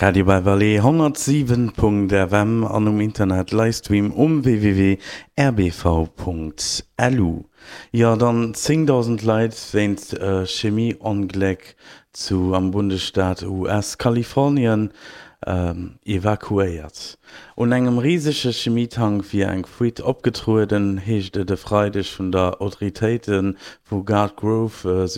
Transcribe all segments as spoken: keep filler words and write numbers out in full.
Radio Beverly honnertsiwen Punkt F M an um Internet Livestream um W W W R B V Punkt L U. Jo, dann zéngdausend Leit wéinst Chemieongléck zu am Bundesstaat U S Kalifornien evakuéiert. Un engem risege Chemietank wier eng Fuite opgetrueden, heescht et e Freideg vun der Autoritéite vu Garden Grove,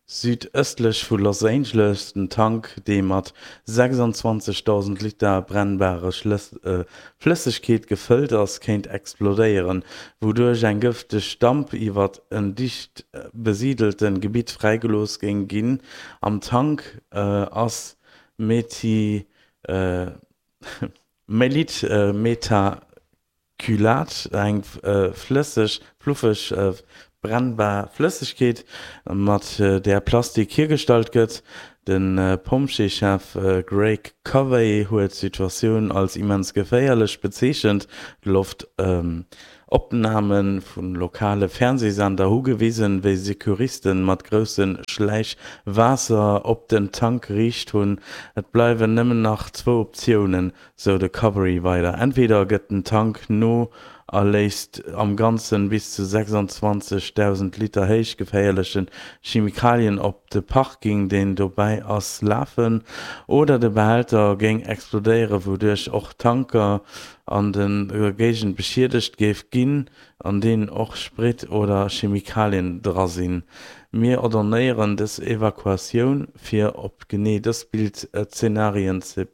südëstlech vu Los Angeles. Den Tank, dee mat sechsanzwanzegdausend Liter brennbarer Flëssegkeet gefëllt ass, kéint explodéieren, wouduerch eng gëfteg Damp iwwer en dicht besiidelt Gebitt fräigelooss géing ginn. Am Tank ass Methylmethacrylat, eng flësseg, fluffeg, brennbar Flëssegkeet, mat där Plastik hiergestallt gëtt. De Pompjeeschef Greg Covey huet d'Situatioun als immens geféierlech bezeechent. Loftopname vu lokale Fernseesender hu gewisen, wéi Secouriste mat grousse Schläich Waasser op den Tank geriicht hunn. Et bleiwen nëmmen nach zwou Optiounen, sou de Covey weider, Entweder gëtt den Tank no a léisst am Ganze bis zu sechsanzwanzegdausend Liter héich geféierlech Chemikalien op de Parking, deen dobäi ass, lafen, oder de Behälter géing explodéieren, wouduerch och Tanker an der Géigend beschiedegt géif ginn, an deenen och Sprit oder Chemikalien dra sinn. Mir ordonéieren dës Evakuatioun, fir op genee dës Bild-Zenarien ze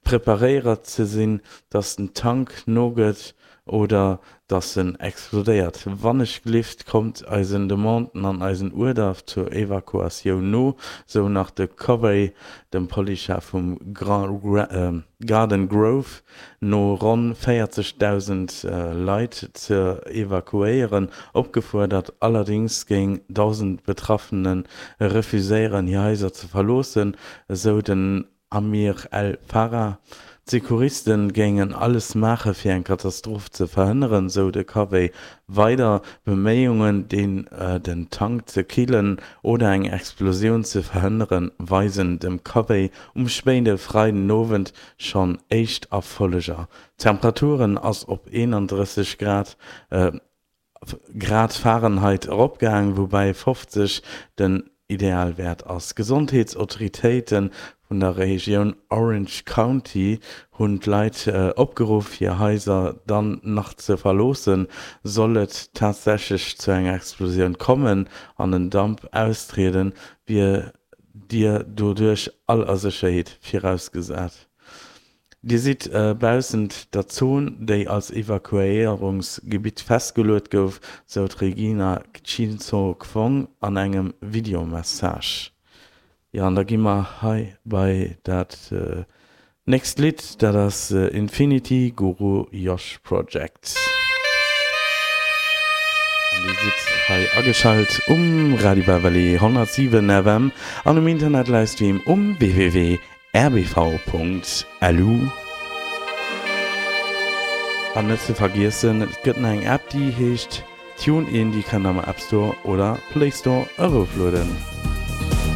preparéiert ze sinn, dass den Tank nogëtt oder dass en explodéiert. Wannechgelift kommt eisen Demanden an eisen Uerder zur Evakuatioun no, sou nach de Covey. Dem Policechef vum Garden Grove no ronn véierzegdausend Leit ze evakuéieren opgefuerdert. Allerdéngs géing dausend Betraffene refuséieren, hir Haiser ze verloossen, esou den Amir El Farah. D'Secouriste géingen alles maache fir eng Katastroph ze verhënneren, sou de Covey weider. Beméiungen, den Tank ze killen oder eng Explosioun ze verhënneren, weisen dem Covey um spéide Freidenowend schonn éischt Erfolleger. D'Temperaturen ass op eenandrësseg Grad Grad Fahrenheit eropgaang, woubäi fofzeg den Idealwäert ass. D'Gesondheetsautoritéite vun der Regioun Orange County hunn d'Leit opgeruff, hir Haiser dann nach ze verloossen, sollt et tatsächlech zu enger Explosioun kommen an en Damp austrieden, wier Dir doduerch all a Sécherheet virausgesat, Dir sidd baussent der Zon, déi als Evakuéierungsgebitt festgeluecht gouf, sou d'Regina Chinzo Kwong an engem Videomessage. Jo, an da gi mer hei bei dat nächst Lidd, dat ass Infinity Guru Josh Project. An Dir sidd hei ageschalt um Radio Beverly honnertsiwen F M an um Internet-Livestream um W W W Punkt R B V Punkt L U. An net ze vergiessen, et gëtt nach eng App, déi heescht TuneIn, déi kënnt der am App Store oder Play Store eroflueden.